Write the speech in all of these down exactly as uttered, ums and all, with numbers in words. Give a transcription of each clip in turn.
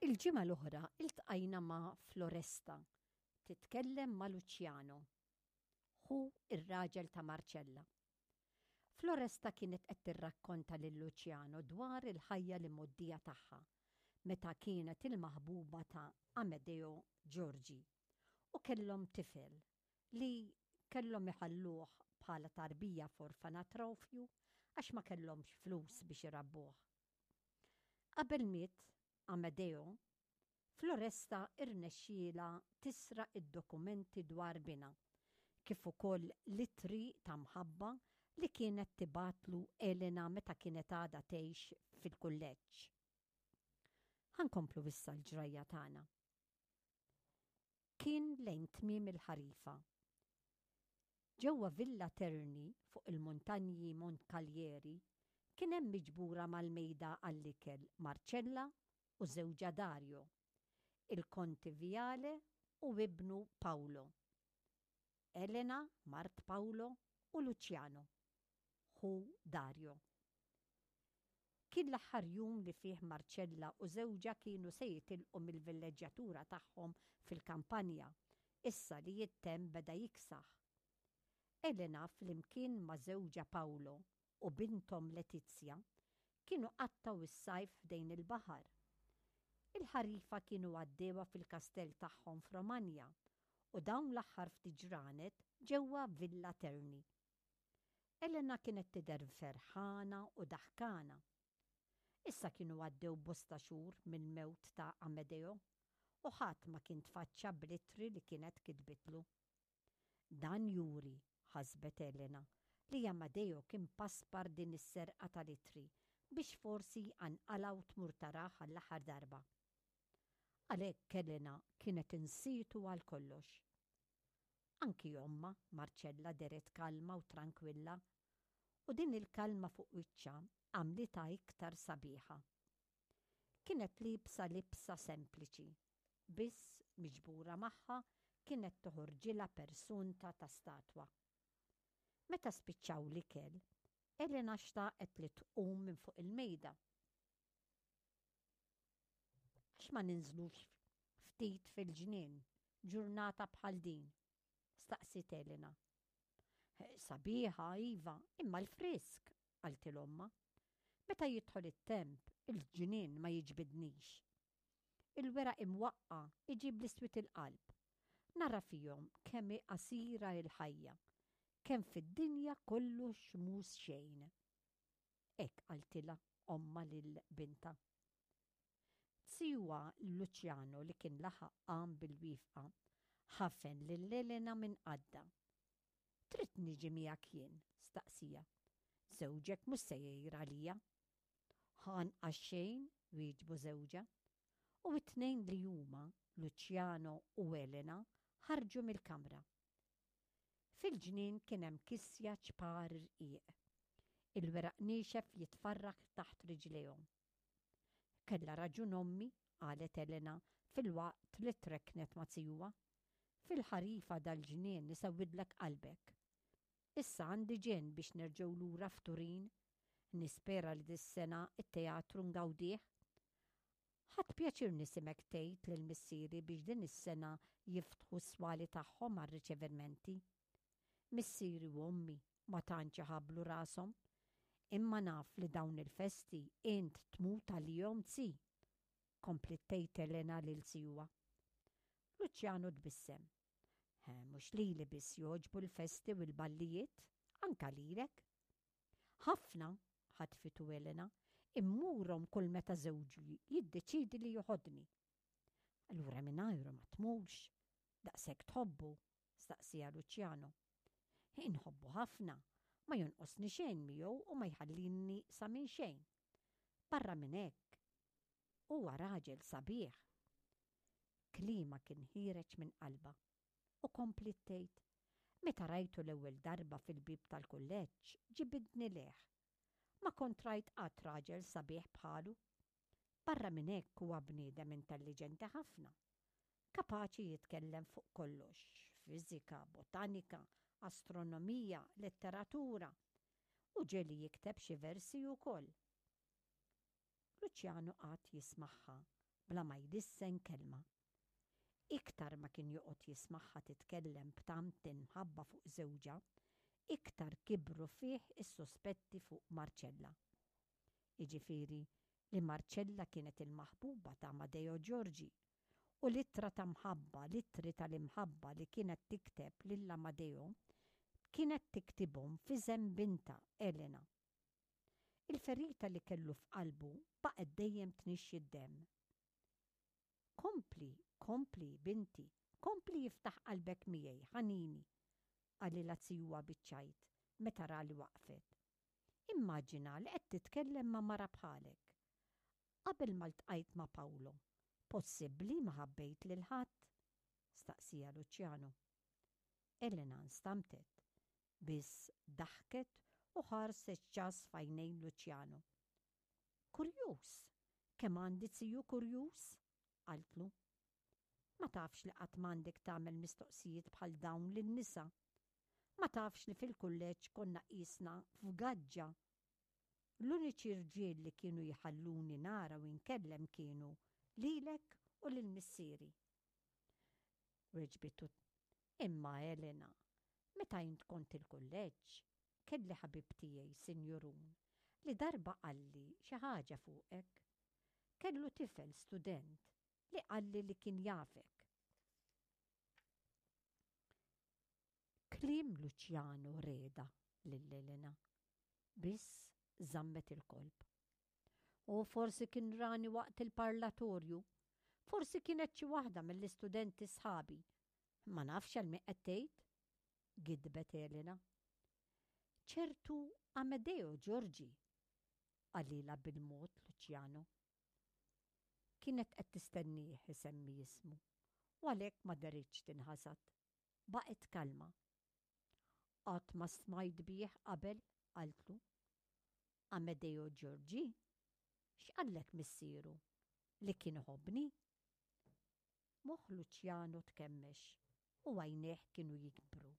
Il-ġimgħa l-oħra iltqajna ma' Floresta titkellem ma' Luciano. Hu ir-raġel ta' Marcella. Floresta kienet qed tirrakkonta lil Luciano dwar il-ħajja li moddija tagħha meta kienet il-maħbuba ta' Amedeo Giorgi u kellhom tifel li kellhom iħalluh bħala tarbija f'orfanatrofju għax ma kellhomx flus biex irabbuh. Qabel miet Amedeo, Floresta irnexxiela tisraq id-dokumenti dwar binha, kif ukoll l-ittri ta' mħabba li kienet tibgħatlu Elena meta kienet għadha tgħix fil-kulleġġ. Ħa nkomplu issa l-ġrajja tagħna. Kien lejn tmiem il-ħarifa. Ġewwa Villa Terni fuq il-muntanji Montcalieri kien hemm miġbura mal-mejda għall-ikel Marcella u żewġha Dario, il-Konti Viale u ibnu Paolo, Elena, mart Paolo u Luciano, ħu Dario. Kien l-aħħar jum li fih Marcella u żewġha kienu se jitilqu mill-villeġġjatura tagħhom fil-kampanja, issa li t-temp beda jiksaħ. Elena flimkien ma' żewġha Paolo u binthom Letizia kienu qattgħu is-sajf ħdejn il-baħar. Il-ħarifa kienu għaddewha fil-kastell tagħhom f'Romagna u dawn l-aħħar ftit ġranet ġewwa Villa Terni. Elena kienet tidher ferħana u daħkana. Issa kienu għaddew bosta xhur mill-mewt ta' Amedeo u ħadd ma kien tfaċċa bl-ittri li kienet kitbitlu. Dan juri, ħasbet Elena, li Amedeo kien paspar din is-serqa tal-ittri biex forsi jqanqalha u tmur tarah għall-aħħar darba. Għalhekk Elena kienet insietu għal kollox. Anki ommha, Marcella dehret kalma u trankwilla, u din il-kalma fuq wiċċha għamlitha iktar sabiħa. Kienet liebsa libsa sempliċi, biss miġbura magħha kienet toħorġilha persunta ta' statwa. Meta spiċċaw l-ikel, Elena xtaqet li tqum minn fuq il-mejda. Għax ma ninżlux ftit fil-ġnien, ġurnata bħal din? Staqsiet Elena. Sabiħa, iva, imma l-frisk, qaltilha ommha. Meta jidħol it-temp, il-ġnien ma jiġbidnix. Il-weraq imwaqqa iġib l-iswed il-qalb. Nara fihom kemm hi qasira il-ħajja, kemm fid-dinja kollox mhux xejn. Hekk qaltilha ommha lil bintha. Zijuha Luciano li kien laħaq qam bil-wieqfa, ħafen lil Elena minn qaddha. Trid niġi miegħek jien? staqsieha. Żewġek mhux se jgħir għalija. Anqas xejn, wieġbu żewġha. U it-tnejn li huma, Luciano u Elena, ħarġu mill-kamra. Fil-ġnien kien hemm kisja ċpar irqiq. Il-weraq niexef jitfarrak taħt riġlejhom. Kellha raġun ommi, qalet Elena filwaqt li trekknet ma' zijuha. Fil-ħarifa dal-ġnien isewwidlek qalbek. Issa għandi ġenn biex nerġgħu lura f'Turin. Nispera li dis-sena it-teatru ngawdih. Ħadt pjaċir nismgħek tgħid lil missieri biex din is-sena jiftħu s-swali tagħhom għar-riċevimenti. Missieri u ommi ma tantx ħablu rashom, imma naf li dawn il-festi int tmut għalihom zi. Kompliet tgħid Elena lil zijuha. Luciano tbissem. Mhux lili biss jogħġbu l-festi u l-ballijiet, anka lilek. Ħafna, ħatfitu Elena, immurhom kull meta żewġi jiddeċidi li joħodni. Allura mingħajru ma tmurx, daqshekk tħobbu, staqsieha Luciano. Inħobbu ħafna, ma jonqosni xejn miegħu u ma jħallini sa minn xejn. Barra minn hekk, huwa raġel sabiħ. Kliemha kien ħiereġ minn qalbha u kompliet tgħid, meta rajtu l-ewwel darba fil-bib tal-kulleġġ ġibidni lejh. Ma kont rajt qatt raġel sabiħ bħalu. Barra minn hekk huwa bniedem intelliġenti ħafna. Kapaċi jitkellem fuq kollox, fiżika, botanika, astronomija, letteratura, u ġieli jikteb xi versi wkoll. Luciano qagħad jismagħha bla ma jlissen kelma. Iktar ma kien joqgħod jismagħha titkellem b'tant imħabba fuq żewġha, iktar kibru fih is-suspetti fuq Marcella. Jiġifieri li Marcella kienet il-maħbuba ta' Amadeo Giorgi u l-ittra ta' mħabba, l-ittri tal-imħabba li kienet tikteb lil Amadeo kienet tiktibhom f'isem bintha Elena. Il-ferita li kellu f'qalbu baqgħet dejjem tnixxi d-demm. Kompli, kompli, binti, kompli iftaħ qalbek miegħi, ħanini, qalilha zijuha biċ-ċajt meta ra li waqfet. Immaġina li qed titkellem ma' mara bħalek. Qabel ma ltqajt ma' Paolo, possibbli ma ħabbejt lil ħadd? Staqsieha Luciano. Elena nstamtet, biss daħket u ħarset ċass f'għajnejn Luciano. Kurjuż, kemm għandi ziju kurjuż? Qaltlu. Ma tafx li qatt m'għandek tagħmel mistoqsijiet bħal dawn lin-nisa. Ma tafx li fil-kulleġġ konna qisna f'gaġġa. L-uniċi rġiel li kienu jħalluni nara u nkellem kienu lilek u lil missieri. Weġbitu, imma Elena, meta int kont il-kulleġġ, kelli ħabib tiegħi, sinjurun, li darba qalli xi ħaġa fuqek. Kellu tifel student li qalli li kien jafek. Kliem Luciano reda lil Elena, biss żammet il-kolb. U forsi kien rani waqt il-parlatorju, forsi kienet xi waħda mill-istudenti sħabi. Ma nafx għal min qed tgħid, gidbet Elena. Ċertu Amedeo Giorgi, qalilha bil-mod Luciano. Kienet qed tistennieh isemmi ismu, u għalhekk ma deritx tinħasad. Baqgħet kalma. Qatt ma smajt bih qabel, qaltlu. Amedeo Giorgi? X'qallek missieru? Li kien iħobbni? Moħħ Luciano tkemmex u għajnejh kienu jikbru.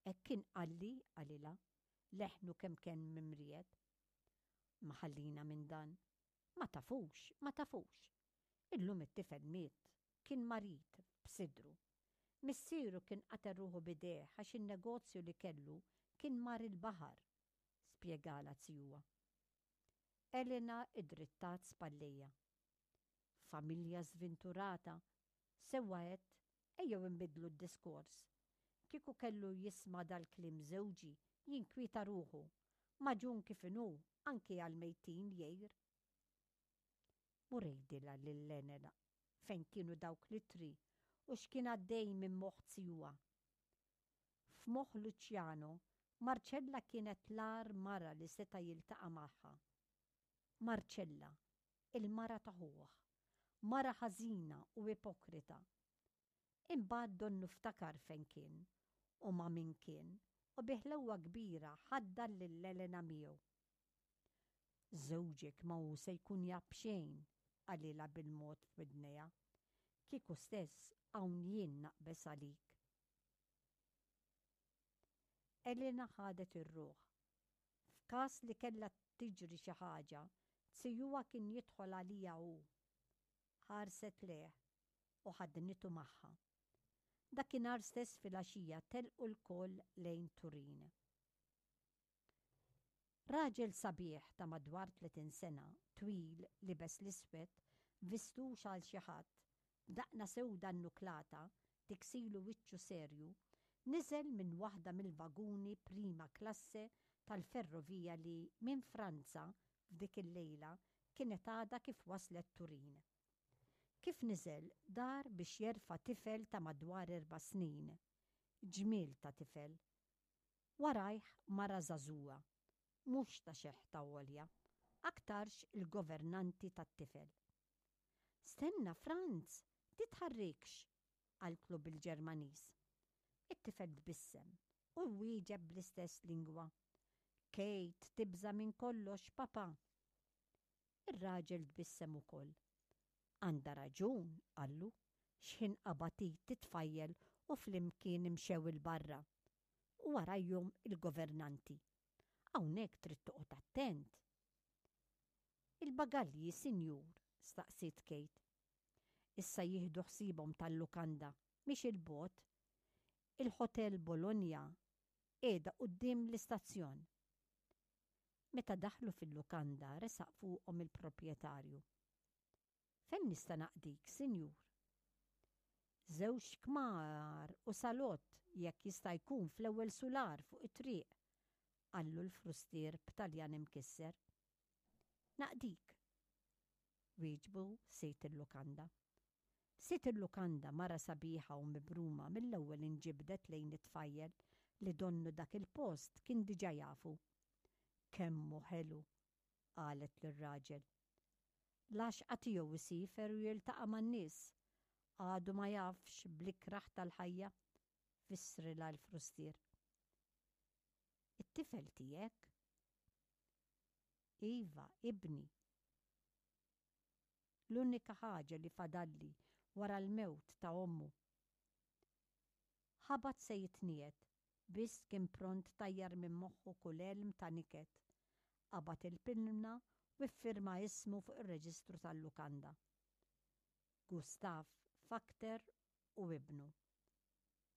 Hekk kien qalli, qalilha, leħnu kemm kien mimriet. Ma ħallina minn dan. Ma tafux, ma tafux. Illum it-tifel miet, kien marid b'sidru. Missieru kien qatel ruħu b'idejh għax in-negozju li kellu kien mar il-baħar, spjegala zijuha. Elena idrittat spallejha. Familja żventurata, sewwa għedt, ejjew inbiddlu d-diskors. Kieku kellu jisma' dal-kliem żewġi, jinkwieta ruħu, maġun kif inhu anki għal-mejtin jgħir. Mur għidilha lil Elena fejn kienu dawk l-ittri u x'kien għaddej minn moħħ zijuha. F'moħħ Luciano, Marcella kienet l-agħar mara li seta' jiltaqa' magħha. Marcella, il-mara ta' ħuh, mara ħażina u ipokrita. Imbagħad donnu ftakar fejn kien u ma' min kien u bi ħlewwa kbira ħaddar lil Elena miegħu. Żewġek ma hu se jkun jaf xejn, qalilha bil-mod f'widnejha. Kieku stess hawn jien naqbeż għalik. Elena ħadet ir-ruħ. F'każ li kellha tiġri xi ħaġa, zijuha kien jidħol għalija hu. Ħarset lejh u ħadnitu magħha. Dakinhar stess filgħaxija telqu lkoll lejn Turin. Raġel sabiħ ta' madwar tletin sena, twil, libes l-iswed, vistux għal xi ħadd, b'daqna sewda nnuklata, tiksilu wiċċu serju, niżel minn waħda mill-vaguni prima klasse tal-ferrovija li minn Franza f'dik il-lejla kienet għadha kif waslet Turin. Kif niżel dar biex jerfa' tifel ta' madwar erba' snin, ġmiel ta' tifel. Warajh mara żagħżugħa, mhux ta' xeħta għolja, aktarx il-governanti tat-tifel. Stenna, Franz, titħarrikx, qaltlu bil-Ġermaniż. It-tifel tbissem u wieġeb bl-istess lingwa. Kate tibża' minn kollox, papa. Ir-raġel tbissem ukoll. Għandha raġun, qallu, x'ħin qabad titfajjel u flimkien imxew il-barra. U warajhom il-governanti. Hawnhekk trid toqgħod attent. Il-bagalji, sinjur, Staqsiet Kate. Issa jieħdu ħsiebhom tal-lukanda, mhix 'il bogħod. Il-Hotel Bologna qiegħda quddiem l-istazzjon. Meta daħlu fil-lukanda resaq fuqhom il-proprjetarju. Fejn nista' naqdik, sinjur? Żewġ kmar u salott jekk jista' jkun fl-ewwel sular fuq it-triq, qallu l-frustier b'Taljan imkisser. Naqdik, wieġbu sid il-lukanda. Sid il-lukanda mara sabiħa u mibruma mill-ewwel inġibdet lejn it-tfajjel li donnu dak il-post kien diġà jafu. Kemm hu ħelu, qalet lir-raġel. L-għaxqa tiegħu jsiefer u jiltaqa' man-nies. Għadu ma jafx bl-ikrah tal-ħajja, fissrilha l-frustier. It-tifel tiegħek? Iva, ibni. L-unika ħaġa li fadalli wara l-mewt ta' ommu. Ħabat se jitniegħed, biss kien pront tajjar minn moħħu kull għelm ta' niket. Qabad il-pinna u ffirma ismu fuq ir-reġistru tal-lukanda. Gustav Fakter u ibnu.